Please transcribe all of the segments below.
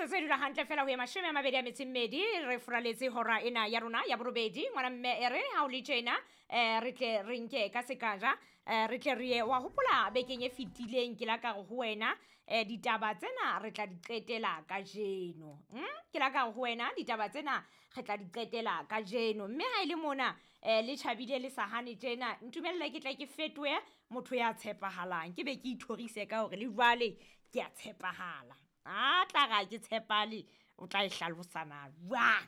Metsotso e dula hantle fela ho ye 24 re furaletse hora ena ya rona ya borobedi. Ngwana mme e re ha o le tjena re tle re nke ka sekaja, re tle re ye wa hopola bekeng e fetileng ke la ka re ho wena ditaba tsena re tla di qetela kajeno. Ke la ka re ho wena ditaba tsena re tla di qetela kajeno, mme ha e le mona le tjhabile le sa hane tjena, ntumelle ke tle ke fetohe motho ya tshepahalang, ke be ke ithorise ka hore le jwale ke a tshepahala. A tla re ha ke tshepahale, o tla e hlalosana jwang?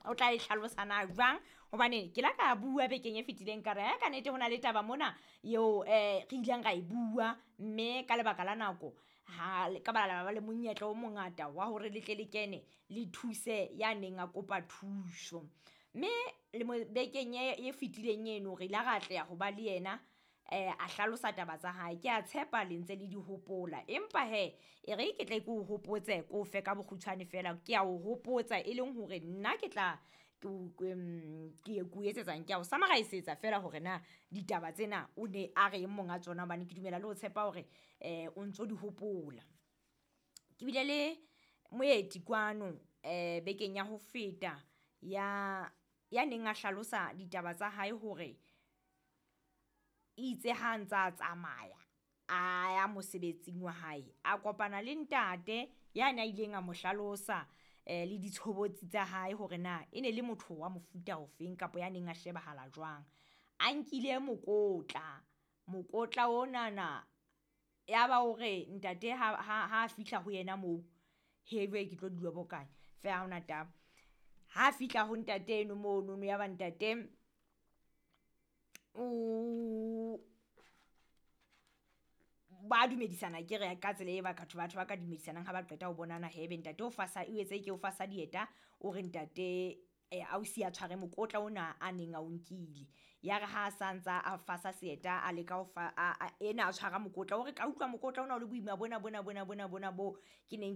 O tla e hlalosana jwang? Hobane ke la ka bua bekeng e fetileng ka re ae ka nnete ho na le taba mona eo re ileng ra e bua, mme ka lebaka la nako ha ka ba la ba le monyetla o mongata wa hore le tle le kene le thuse ya neng a kopa thuso. Mme le mo bekeng e fetileng eno re ile ra atleha ho ba le yena a hlalosa taba tsa hae. Ke a tshepa le ntse le di hopola, empa hee e re ke tle ke o hopotse ko fe ka bokgutshwane fela, ke a o hopotsa e leng hore nna ke tla ke o etsetsang, ke a o summarisetsa fela hore na ditaba tsena o ne a reng monga tsona, hobane ke dumela le ho tshepa hore o ntso di hopola. Ke bile le moeti kwano bekeng ya ho feta ya neng a hlalosa ditaba tsa hae hore itse ha ntsa tsamaya a ya mosebetsing wa hae, a kopana le ntate ya na ileng a mo hlalosa le ditshobotsi tsa hae hore na e ne le motho wa mofuta ofeng kapa ya neng a shebahala jwang. A nkile mokotla, mokotla onana ya ba o re ntate ha fihla ho yena moo, hee jwale ke tlo di lobokanya feela ha hona taba. Ha fihla ho ntate eno monono ya ba ntate o ba dumedisana akere ka tsela e batho ba ka dumedisanang ha ba qeta ho bonana hee ebe ntate o fasa o etse ke o fasa dieta, o re ntate ausi a tshware mokotla ona a neng a o nkile. Ya re ha sa ntsa a fasa seeta a leka ho fa ena a tshwara mokotla o re ka utlwa mokotla ona o le boima bona bona bona bona bona bo ke neng.